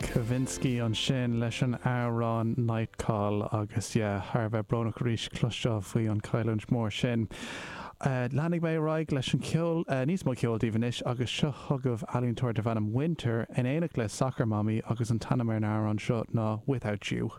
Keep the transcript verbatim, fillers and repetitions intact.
Kavinsky ansin leis an amhrán Nightcall agus yeah, thar a bheith brónach arís cloisteáil faoi an chailliúint mór sin. Uh, Leanfaidh mé ar aghaidh leis an ceol uh, níos mó ceoil daoibh anois agus seo chugaibh ealaíontóir darb ainm Winter in éineacht le Soccer Mommy agus an t-ainm ar an amhrán seo ná Without You.